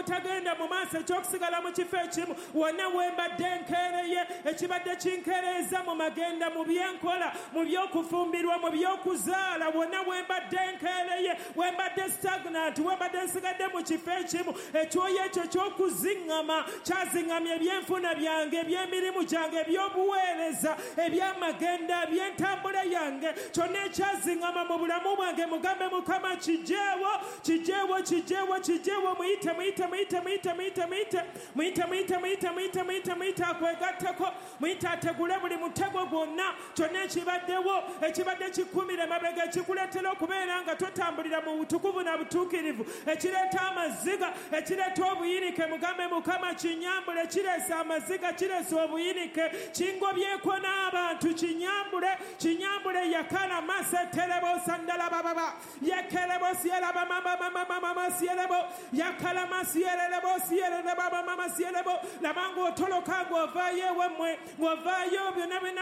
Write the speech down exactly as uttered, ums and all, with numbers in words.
Eky'obutagenda mu maaso, ekyokusigala mu kifo ekimu, wonna wembadde nkeereye, ekibadde kinkereeza mu magenda, mu byenkola, mu by'okufumbirwa, mu by'okuzaala, wonna wembadde nkeereye, wembadde stagnant, wembadde nsigadde mu kifo ekimu, ekyoyo ekyo ky'okuziŋŋama kyaziŋŋamya ebyenfuna byange, eby'emirimu gyange, eby'obuweereza, eby'amagenda, eby'entambula yange, kyonna ekyaziŋŋama mu bulamu bwange, mugambe Mukama kijeewo, kijeewo, kijeewo, kijeewo, muyite, muyite, muyite, muyite, muyite, muyite, muyite, muyite, muyite, muyite, muyite, muyite, akwegatteko, muyite ategule buli mutego gwonna, kyonna ekibaddewo, ekibadde kikumira emabega, ekikuleetera okubeera nga totambulira mu butukuvu na butuukirivu, ekireeta amaziga, ekireeta obuyinike, mugambe Mukama kinyambule, kireese amaziga, kireese obuyinike, kingobyeko n'abantu, kinyambule, kinyambule, yakala maseterebo sandala bababa, yekerebo sieraba mama mama mama sierebo, yakala masierebo sierebo mama mama sierebo, labanga otoloka ng'ovaayo ewemmwe, ng'ovaayo byonna byonna.